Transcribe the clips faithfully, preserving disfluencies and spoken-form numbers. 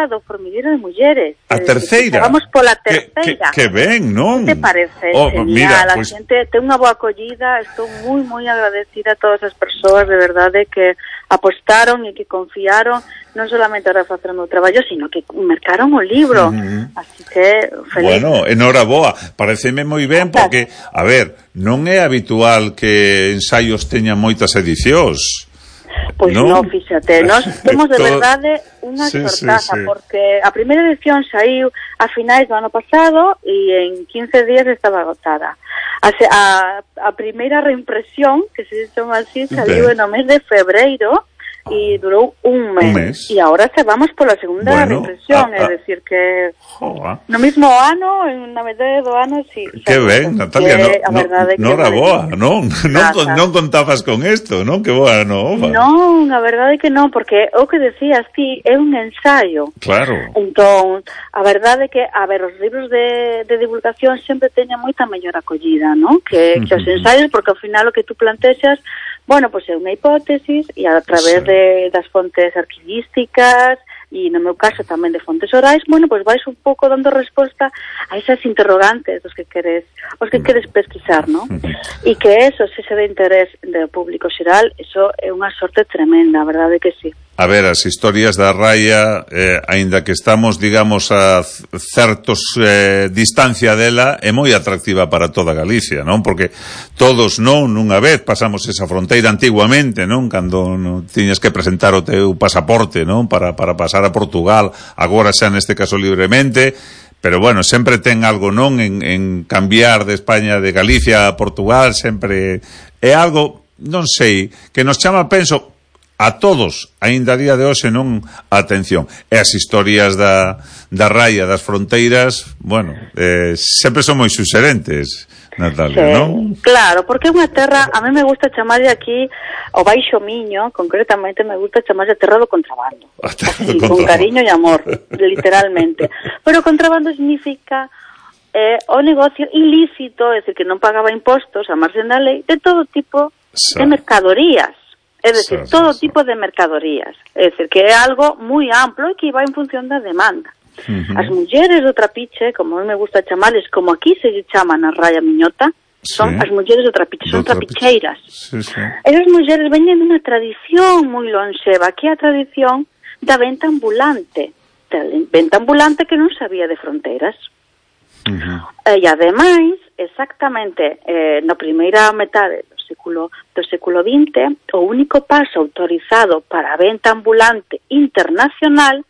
do formigueiro de mulleres. A terceira? Vamos pola terceira. Que, que, que ben, non? Que te parece? Oh, genial, mira, a pues... xente ten unha boa acollida, estou moi, moi agradecida a todas as persoas, de verdade, que apostaron e que confiaron, non solamente para facer o meu traballo, sino que mercaron o libro. Uh-huh. Así que, feliz. Bueno, enhoraboa, pareceme moi ben, porque, a ver, non é habitual que ensaios teñan moitas edicións. Pois non, no, fíxate, nós temos de verdade unha sí, sortaza, sí, sí. Porque a primeira edición saiu a finais do ano pasado e en quince días estaba agotada. A, a, a primeira reimpresión, que se chama así, saiu no mes de febreiro e durou un mes. Un mes. E agora se vamos pola segunda bueno, reimpresión, é dicir que joa. No mismo ano, en na metade do ano, si. Sí, que ben, Natalia, que, no, no, no era boa, non? Non, non contabas con isto, non? Que boa, non? Non, a verdade que non, porque o que decías ti é un ensaio. Claro. Entón, a verdade que, a ver, os libros de, de divulgación sempre teñen moita mellor acollida, non? Que, que os ensaios, porque ao final o que tú plantexas, bueno, pois é unha hipótesis e a través sí. de, das fontes arquivísticas e no meu caso tamén de fontes orais, bueno, pois vais un pouco dando resposta a esas interrogantes dos que queres, os que queres pesquisar, non? E que eso, se se de interés do público xeral, eso é unha sorte tremenda, a verdade que sí. A ver, as historias da raia, eh, aínda que estamos, digamos, a certos eh, distancia dela, é moi atractiva para toda Galicia, non? Porque todos, non, nunha vez pasamos esa fronteira antiguamente, non? Cando non tiñas que presentar o teu pasaporte, non? Para, para pasar a Portugal, agora xa neste caso libremente, pero bueno, sempre ten algo, non? En, en cambiar de España, de Galicia a Portugal, sempre é algo, non sei, que nos chama, penso, a todos, aínda a día de hoxe, non, atención. E as historias da, da raia, das fronteiras, bueno, eh, sempre son moi suxerentes, Natalia, sí, non? Claro, porque é unha terra, a mí me gusta chamarlle aquí o Baixo Miño, concretamente me gusta chamarlle a terra do contrabando. Así, do contrabando. Con cariño e amor, literalmente. Pero contrabando significa eh, o negocio ilícito, é dicir, que non pagaba impostos a marxen da lei, de todo tipo sí. de mercadorías. É dicir, sí, todo sí, tipo sí. de mercadorías. É dicir, que é algo moi amplo e que vai en función da demanda. Uh-huh. As mulleres do trapiche, como a mí me gusta chamarles, como aquí se chama na Raya Miñota, son sí. as mulleres do trapiche, son do trapicheiras. Sí, sí. Esas mulleres veñen dunha tradición moi lonxeva, que é a tradición da venta ambulante. Da venta ambulante que non sabía de fronteiras. Uh-huh. E ademais, exactamente, eh, na primeira metade do século, do século vinte, o único paso autorizado para a venta ambulante internacional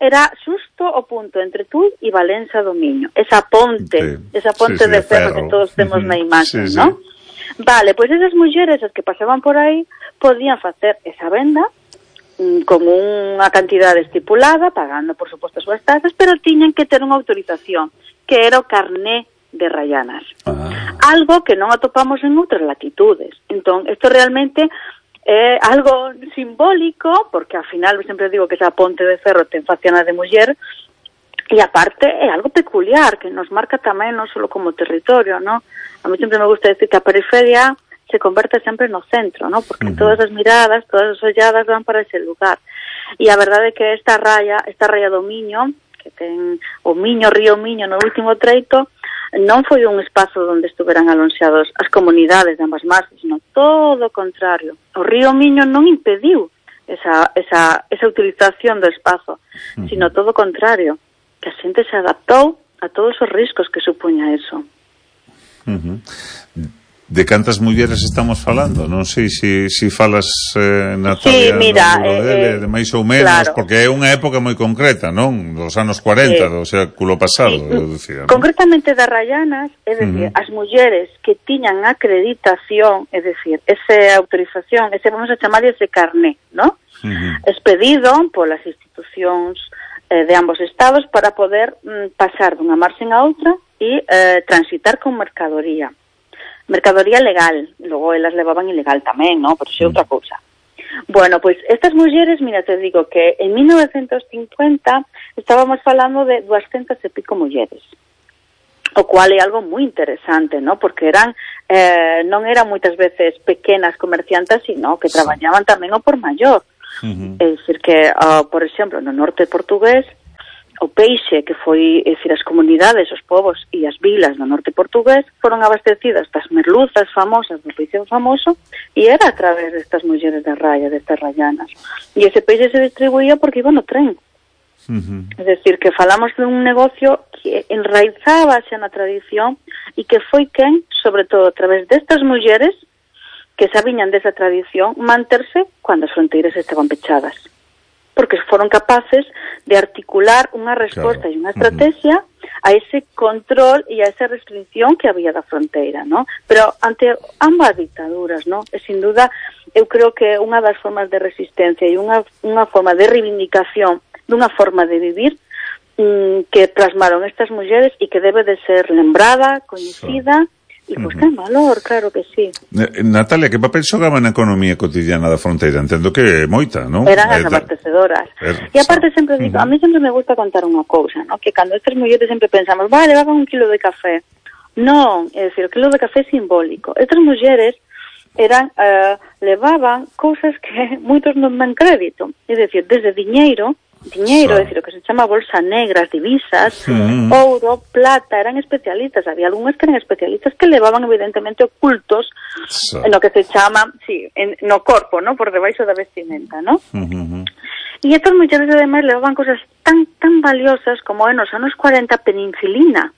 era xusto o punto entre Tui e Valença do Miño. Esa ponte, sí. esa ponte sí, sí, de ferro, ferro que todos temos uh-huh. na imaxe, sí, ¿no? Sí. Vale, pois pues esas mulleres as que pasaban por aí podían facer esa venda mm, con unha cantidade estipulada, pagando, por suposto, as súas tasas, pero tiñan que ter unha autorización, que era o carné de Rayanas. Ah. Algo que non atopamos en outras latitudes. Entón, isto realmente é algo simbólico, porque ao final sempre digo que esa ponte de ferro ten faciana de muller, e aparte é algo peculiar, que nos marca tamén non só como territorio, ¿no? A mí sempre me gusta decir que a periferia se converte sempre no centro, ¿no? Porque uh-huh. todas as miradas, todas as olladas van para ese lugar. E a verdade é que esta raya, esta raya do Miño, que ten o Miño, río Miño no último treito, non foi un espazo onde estuveran alonxados as comunidades de ambas marxes, sino todo o contrario. O río Miño non impediu esa, esa, esa utilización do espazo, uh-huh. sino todo o contrario, que a xente se adaptou a todos os riscos que supuña eso. Uh-huh. De cantas mulleres estamos falando? Non sei se si, si falas, eh, Natalia, sí, mira, no eh, dele, de máis ou menos, claro. porque é unha época moi concreta, non? Dos anos cuarenta, sí. do século pasado, sí. eu dicía, non? Concretamente das Rayanas, é dicir, uh-huh. as mulleres que tiñan acreditación, é dicir, esa autorización, ese, vamos a chamar ese carné, non? Uh-huh. Expedido polas institucións eh, de ambos estados para poder mm, pasar dunha marxen a outra e eh, transitar con mercadoría. Mercadoría legal, logo elas levaban ilegal tamén, ¿no? Pero xe outra cousa. Bueno, pois estas mulleres, mira, te digo que en mil novecientos cincuenta estábamos falando de duascentas e pico mulleres, o cual é algo moi interesante, ¿no? Porque eran, eh, non eran moitas veces pequenas comerciantes, sino que traballaban tamén o por maior. Uh-huh. É dicir que, uh, por exemplo, no norte portugués o peixe que foi, é dicir, as comunidades, os povos e as vilas do norte portugués foron abastecidas das merluzas famosas do peixe famoso e era a través destas mulleres da raia, destas rayanas. E ese peixe se distribuía porque iba no tren. Uh-huh. É dicir, que falamos de un negocio que enraizábase na tradición e que foi quen, sobre todo a través destas mulleres que sabiñan desa tradición, manterse cando as fronteiras estaban pechadas. Porque foron capaces de articular unha resposta claro. E unha estrategia uh-huh. a ese control e a esa restricción que había da fronteira, ¿no? Pero ante ambas dictaduras, ¿no? E sin duda, eu creo que unha das formas de resistencia e unha, unha forma de reivindicación dunha forma de vivir mmm, que plasmaron estas mulleres e que debe de ser lembrada, coñecida, sí. E pois ten valor, claro que sí. Natalia, que papel xogaba na economía cotidiana da fronteira? Entendo que moita, non? Eran as abastecedoras. Er, e aparte sempre digo, uh-huh. a mí sempre me gusta contar unha cousa, ¿no? Que cando estas mulleres sempre pensamos, vale, levaban un kilo de café. Non, é dicir, o kilo de café é simbólico. Estas mulleres eran, uh, levaban cousas que moitos non dan crédito. É dicir, desde diñeiro, diñeiro, é dicir, o que se chama bolsa negra, divisas, mm. ouro, plata, eran especialistas, había algúnas que eran especialistas que levaban evidentemente ocultos sí. no que se chama, sí, en, no corpo, ¿no? Por debaixo da vestimenta, ¿no? Mm-hmm. E estas mulleres ademais levaban cosas tan tan valiosas como en os anos cuarenta penicilina.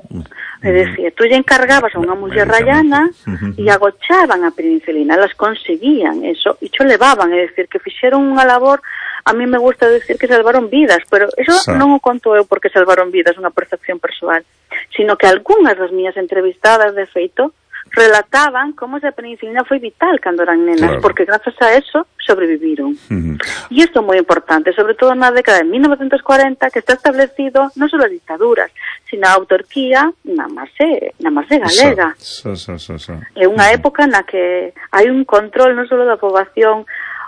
Mm. É dicir, tú lle encargabas a unha muller rayana mm-hmm. e agochaban a penicilina, elas conseguían eso e cho levaban, é dicir, que fixeron unha labor. A mí me gusta decir que salvaron vidas, pero eso sí. non o conto eu porque salvaron vidas, unha percepción persoal, sino que algunhas das miñas entrevistadas, de feito, relataban como esa penicilina foi vital cando eran nenas, claro. porque grazas a eso sobreviviron. Uh-huh. E isto é moi importante, sobre todo na década de mil novecientos cuarenta, que está establecido non só as dictaduras, sino a autarquía na marxe, na marxe galega. So, so, so, so, so. É unha uh-huh. época na que hai un control non só da poboación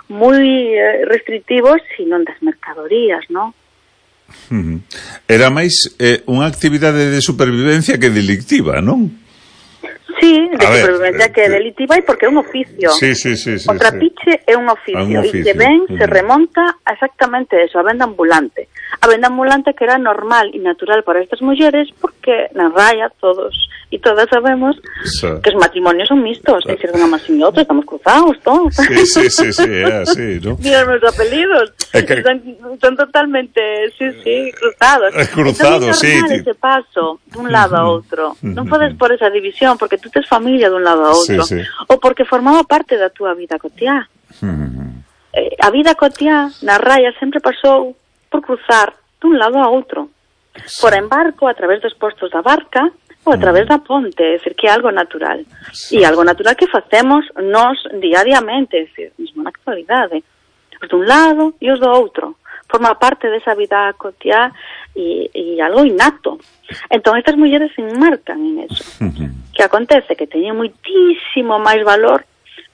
moi eh, restrictivos, sino das mercadorías, non? Uh-huh. Era máis eh, unha actividade de supervivencia que delictiva, non? Sí, de a supervivencia ver, que é delictiva e porque é un oficio. Sí, sí, sí, sí, o trapiche sí. é un oficio, un oficio. E que ben uh-huh. se remonta a exactamente eso, a venda ambulante. A venda ambulante que era normal e natural para estas mulleres porque na raya todos e todas sabemos sí. que os matrimonios son mistos, é dicir, unha máis e outra, estamos cruzados todos. Sí, sí, sí, sí, é así, ¿no? Mira os meus apelidos, que... son, son totalmente, sí, sí, cruzados. Es cruzado, entón, é normal sí. ese paso dun lado a outro. Non podes por esa división, porque tú tes familia dun lado a outro. Sí, sí. Ou porque formaba parte da túa vida cotiá. Uh-huh. Eh, a vida cotiá na raya sempre pasou por cruzar dun lado a outro. Sí. Por embarco, a través dos postos da barca, ou a través da ponte, é dicir, que é algo natural. Sí. E algo natural que facemos nós diariamente, é dicir, mesmo na actualidade. Os dun lado e os do outro. Forma parte desa vida cotiá e, e algo innato. Entón, estas mulleres se enmarcan en eso. Uh-huh. Que acontece que teñen moitísimo máis valor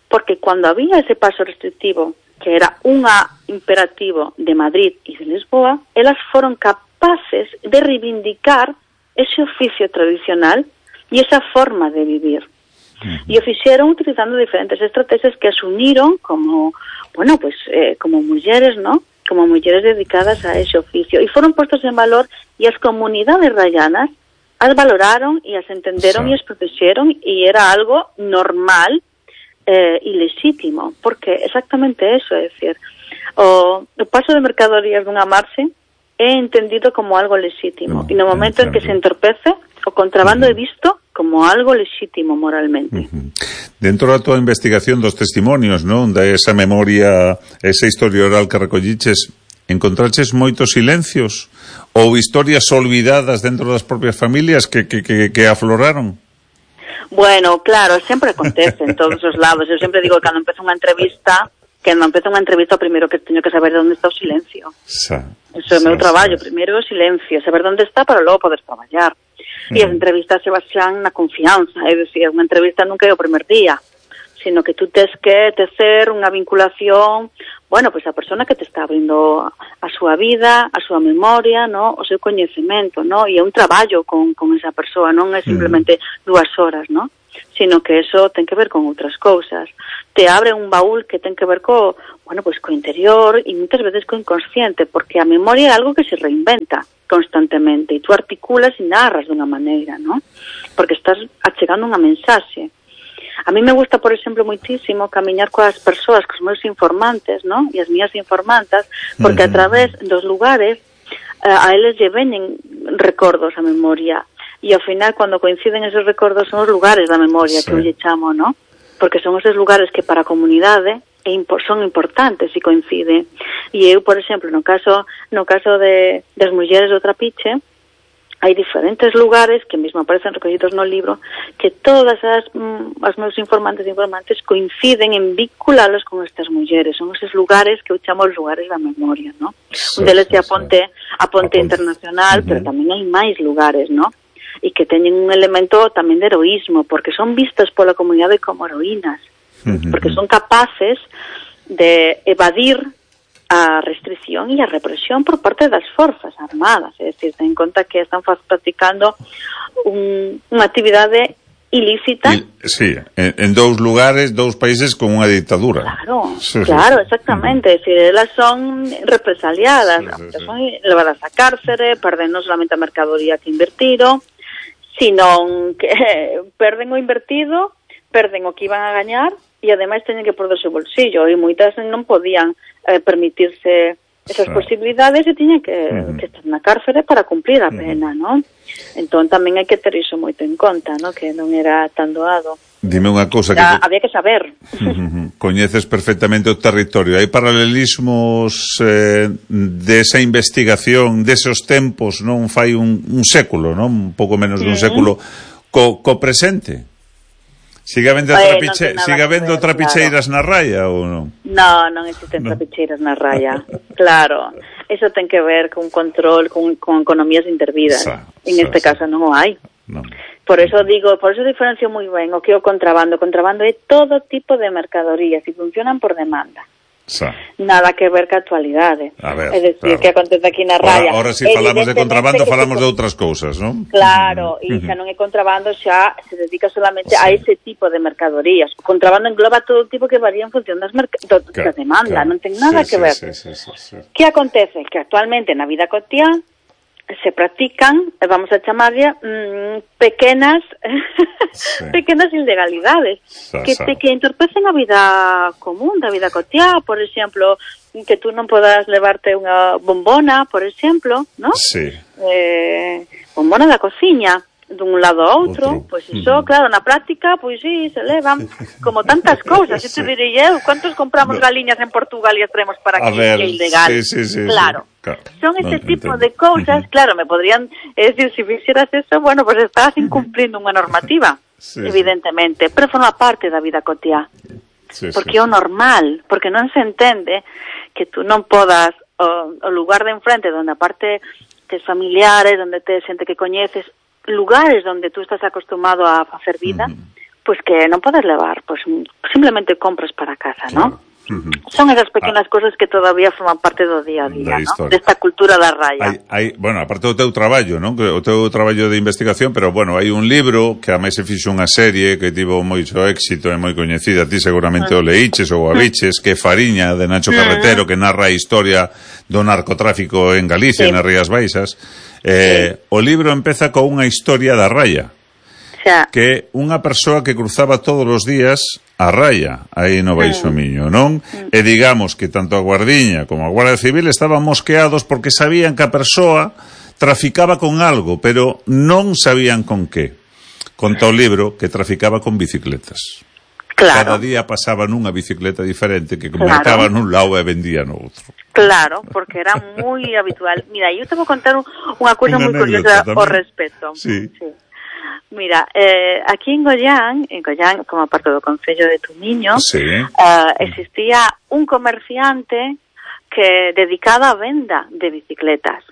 porque cando había ese paso restrictivo, que era unha imperativo de Madrid e de Lisboa, elas foron capaces de reivindicar ese oficio tradicional e esa forma de vivir. Uh-huh. E o fixeron utilizando diferentes estrategias que as uniron como, bueno, pues, eh, como mulleres, ¿no? Como mulleres dedicadas a ese oficio. E foron postos en valor e as comunidades rayanas as valoraron e as entenderon sí. e as protexeron e era algo normal eh, e legítimo. Porque exactamente eso, é dicir, o, o paso de mercadorías dunha marxe é entendido como algo legítimo. No, e no momento en que se entorpece, o contrabando uh-huh. é visto como algo legítimo moralmente. Uh-huh. Dentro da tua investigación dos testimonios, non? Da esa memoria, esa historia oral que recolliches, encontraches moitos silencios ou historias olvidadas dentro das propias familias que, que, que, que afloraron? Bueno, claro, sempre acontece en todos os lados. Eu sempre digo que cando empezo unha entrevista, que cando empezo unha entrevista, o primeiro que teño que saber de onde está o silencio. Sa, Eso é o meu traballo, sa. Primeiro o silencio, saber onde está para logo poder traballar. E as entrevistas se basean na confianza, é dicir, unha entrevista nunca é o primer día, sino que tú tes que tecer unha vinculación, bueno, pois pues a persona que te está abrindo a súa vida, a súa memoria, no, o seu coñecemento, no, e é un traballo con, con esa persoa, non é simplemente mm. dúas horas, no? sino que eso ten que ver con outras cousas. Te abre un baúl que ten que ver co, bueno, pues co interior e moitas veces co inconsciente, porque a memoria é algo que se reinventa constantemente e tú articulas e narras dunha maneira, ¿no? Porque estás achegando unha mensaxe. A mí me gusta, por exemplo, moitísimo camiñar coas persoas, cos meus informantes, ¿no? E as mías informantas, porque a través dos lugares a eles lle veñen recordos a memoria. E ao final, cando coinciden esos recordos, son os lugares da memoria, sí, que eu lle chamo, ¿no? Porque son esos lugares que para a comunidade son importantes e coinciden. E eu, por exemplo, no caso no caso de das mulleres do Trapiche, hai diferentes lugares que mesmo aparecen recogidos no libro que todas as, mm, as meus informantes e informantes coinciden en vinculalos con estas mulleres. Son esos lugares que eu chamo os lugares da memoria, ¿no? Sí, un deles é a Ponte, a Ponte Internacional, uh-huh, pero tamén hai máis lugares, ¿no? E que teñen un elemento tamén de heroísmo, porque son vistas pola comunidade como heroínas, uh-huh, porque son capaces de evadir a restricción e a represión por parte das forzas armadas, é dicir, ten en conta que están practicando un, unha actividade ilícita. Y, sí, en, en dous lugares, dous países con unha dictadura. Claro, sí, claro, exactamente, uh-huh, é dicir, elas son represaliadas, sí, sí, sí, son levadas a cárcere, perden non solamente a mercadoría que invertiron, sino que eh, perden o invertido, perden o que iban a gañar, e ademais teñen que perder o seu bolsillo, e moitas non podían eh, permitirse esas sí. posibilidades e tiñen que, uh-huh. que estar na cárcere para cumplir a pena, uh-huh. non? Entón tamén hai que ter iso moito en conta, non? Que non era tan doado. Dime unha cousa que... Te... Había que saber. Uh-huh. Coñeces perfectamente o territorio. Hai paralelismos eh, desa investigación, deses tempos, non? Fai un, un século, non? Un pouco menos uh-huh. dun século co, co presente. Sigue habendo eh, trapiche... no sigue habendo trapicheiras claro. na raya ou non? No, non existen no. trapicheiras na raya. Claro, eso ten que ver con control, con, con economías intervidas. Sa, en sa, este sa. caso non o hai. No. Por eso digo, por eso diferencio moi ben o que é o contrabando. O contrabando é todo tipo de mercadorías e funcionan por demanda. Sa. Nada que ver ca actualidade. Ver, é dicir, claro. que acontece aquí na raya. Ahora, ahora si falamos de contrabando, falamos de outras cousas, non? Claro, e xa non é contrabando, xa se dedica solamente sí. a ese tipo de mercadorías. O contrabando engloba todo tipo que varía en función das merc- do, claro, da demanda, claro. non ten nada sí, que ver. Sí, sí, sí, sí, sí. Que acontece? Que actualmente na vida cotiá se practican, vamos a chamarlle, mmm, pequenas sí. pequenas ilegalidades sa, que, sa. que entorpecen a vida común, da vida cotiá, por exemplo, que tú non podas levarte unha bombona, por exemplo, ¿no? Sí. Eh, bombona da cociña, dun lado a outro, pois pues iso, mm. claro, na práctica, pois pues sí, se levan como tantas cousas, sí. eu te direi eu, ¿cuántos compramos no. galiñas en Portugal e as traemos para aquí, que é ilegal? Sí, sí, sí, claro. Sí. Claro. Son ese no, tipo entiendo. de cousas, uh-huh. claro, me podrían es decir, si fixeras eso, bueno, pues estás incumplindo unha normativa, sí, evidentemente, sí. pero forma parte da vida cotiá, sí, porque é sí, o normal, porque non se entende que tú non podas, o, o lugar de enfrente, donde aparte tes familiares, donde tes xente que coñeces, lugares donde tú estás acostumado a facer vida, uh-huh. pues que non podes levar, pues simplemente compras para casa, claro. ¿no? Uh-huh. Son esas pequenas ah. cosas que todavía forman parte do día a día, ¿no? Desta cultura da raya. Hai, hai, bueno, aparte do teu traballo, non? O teu traballo de investigación, pero bueno, hai un libro que a máis se fixo unha serie que tivo moito éxito e moi coñecida, ti seguramente uh-huh. o leíches ou a viches, que é Fariña, de Nacho Carretero, uh-huh. que narra a historia do narcotráfico en Galicia, sí. nas Rías Baixas. Eh, sí. O libro empeza con unha historia da raya. Xa. Que unha persoa que cruzaba todos os días a raya, aí no Baixo Miño, non? Mm. E digamos que tanto a Guardiña como a Guardia Civil estaban mosqueados porque sabían que a persoa traficaba con algo, pero non sabían con que. Conta o libro que traficaba con bicicletas. Claro. Cada día pasaba nunha bicicleta diferente que mercaba claro. nun lado e vendía no outro. Claro, porque era moi habitual. Mira, eu te vou contar unha cousa moi curiosa ao respecto. Sí. sí. Mira, eh, aquí en Goián, en Goián, como parte do Concello de Tumiño, sí. eh, existía un comerciante que dedicado á venda de bicicletas.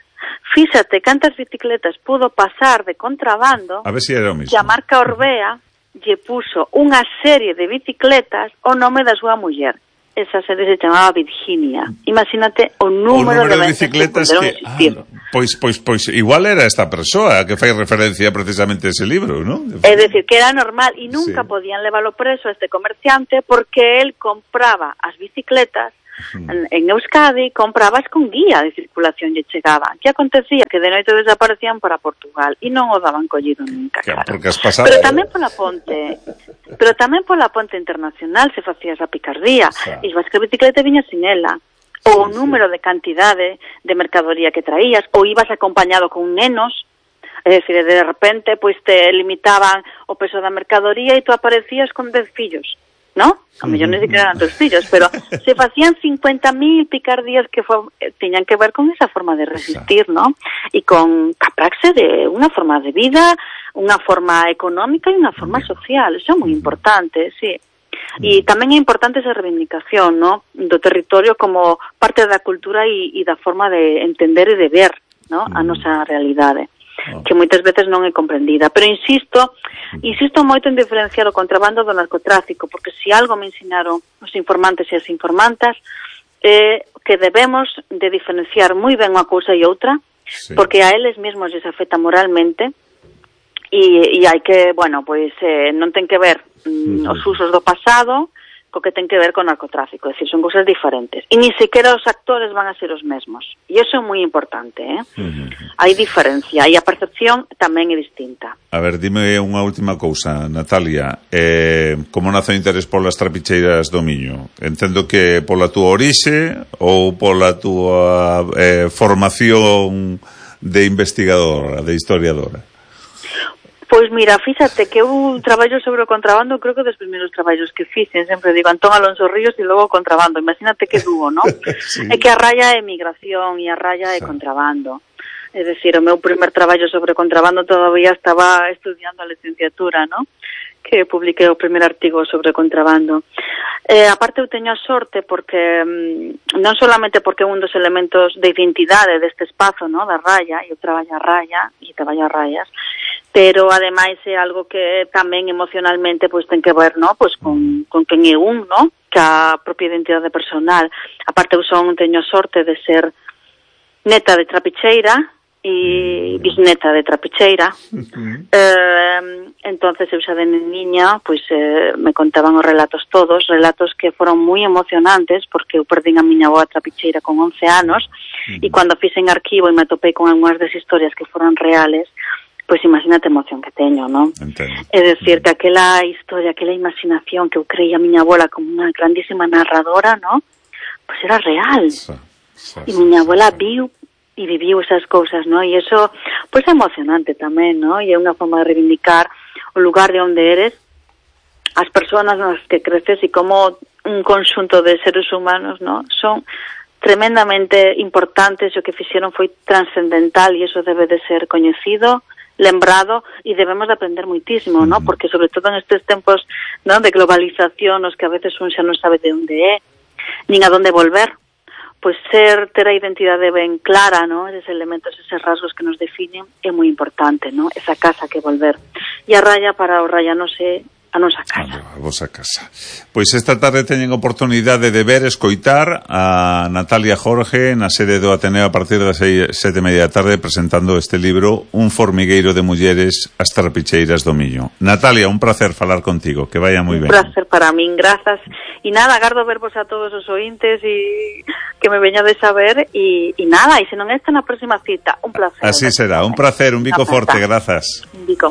Fíxate cantas bicicletas pudo pasar de contrabando, a ver si era o mismo. Que a marca Orbea lle puso unha serie de bicicletas o nome da súa muller. esa serie se chamaba Virginia. Imagínate o número, o número de, de bicicletas que, que ah, pois, pois, pois igual era esta persoa que fai referencia precisamente a ese libro, ¿no? É dicir, que era normal e nunca sí. podían leválo preso a este comerciante porque él compraba as bicicletas en, en Euskadi, comprabas con guía de circulación lle chegaban. Que acontecía? Que de noite desaparecían para Portugal e non o daban collido nunca, claro. Porque as pasadas... Pero tamén pola ponte, pero tamén pola ponte internacional se facía esa picardía. Sí. E vas que a bicicleta viña sin ela. Ou o número de cantidade de mercadoría que traías, ou ibas acompañado con nenos, é dicir, de repente pois te limitaban o peso da mercadoría e tú aparecías con dez fillos. ¿No? A mellor non sei que eran tus fillos, pero se facían cincuenta mil picardías que fue, teñan que ver con esa forma de resistir, ¿no? Y con capraxe de unha forma de vida, unha forma económica e unha forma social. Eso é moi importante, sí. E tamén é importante esa reivindicación, ¿no? Do territorio como parte da cultura e, e da forma de entender e de ver, ¿no? A nosa realidade. Que moitas veces non é comprendida, pero insisto insisto moito en diferenciar o contrabando do narcotráfico, porque se si algo me ensinaron os informantes e as informantas é que debemos de diferenciar moi ben unha cousa e outra, sí. porque a eles mesmos les afecta moralmente e, e hai que, bueno, pois eh, non ten que ver mm, os usos do pasado co que ten que ver con narcotráfico, é dicir, son cousas diferentes. E ni sequera os actores van a ser os mesmos. E iso é moi importante, eh? Uh-huh. Hai diferencia, e a percepción tamén é distinta. A ver, dime unha última cousa, Natalia. Eh, como nace o interés polas trapicheiras do Miño? Entendo que pola túa orixe ou pola túa eh, formación de investigadora, de historiadora? Pois mira, fíxate que eu traballo sobre o contrabando, creo que dos primeiros traballos que fixen, sempre digo Antón Alonso Ríos e logo o contrabando, imagínate que dúo, non? Sí. É que a raya é migración e a raya é sí. contrabando. É dicir, o meu primer traballo sobre contrabando todavía estaba estudiando a licenciatura, non? Que publiquei o primer artigo sobre contrabando. Eh, aparte eu teño a sorte porque mm, non solamente porque é un dos elementos de identidade deste espazo, no, da raya, eu traballo a raya e traballo a rayas, pero ademais é algo que tamén emocionalmente pois ten que ver, no, pois con con quen é un, no, que a propia identidade personal. Aparte eu son teño a sorte de ser neta de trapicheira e bisneta de trapicheira. Uh-huh. eh, entonces eu xa de niña pois eh, me contaban os relatos todos, relatos que foron moi emocionantes porque eu perdín a miña avó trapicheira con once anos. Uh-huh. E cando fixen arquivo e me topei con algunhas das historias que foron reales, pois imagínate a emoción que teño, non? É dicir, que aquela historia, aquela imaginación que eu creía a miña abuela como unha grandísima narradora, non? Pois era real. Sí, sí, e miña abuela viu e viviu esas cousas, non? E iso, pois é emocionante tamén, non? E é unha forma de reivindicar o lugar de onde eres, as persoas nas que creces e como un conxunto de seres humanos, non? Son tremendamente importantes, o que fixeron foi trascendental e iso debe de ser coñecido, lembrado e debemos de aprender moitísimo, ¿no? Porque sobre todo en estes tempos, ¿no?, de globalización, os que a veces un xa non sabe de onde é, nin a donde volver, pois ser, ter a identidade ben clara, ¿no?, eses elementos, eses rasgos que nos definen é moi importante, ¿no?, esa casa que volver. E a raya para o rayanos é a nosa casa. A vosa casa. Pois esta tarde teñen oportunidade de ver, escoitar a Natalia Jorge na sede do Ateneo a partir das seis, sete e media da tarde presentando este libro Un formigueiro de mulleres, as trapicheiras do Miño. Natalia, un placer falar contigo, que vaya moi ben. Un placer para min, grazas. E nada, agardo vervos a todos os ointes e que me veñades a ver e, e nada, e se non esta na próxima cita, un placer. Así será, un placer, un bico forte, grazas. Un bico.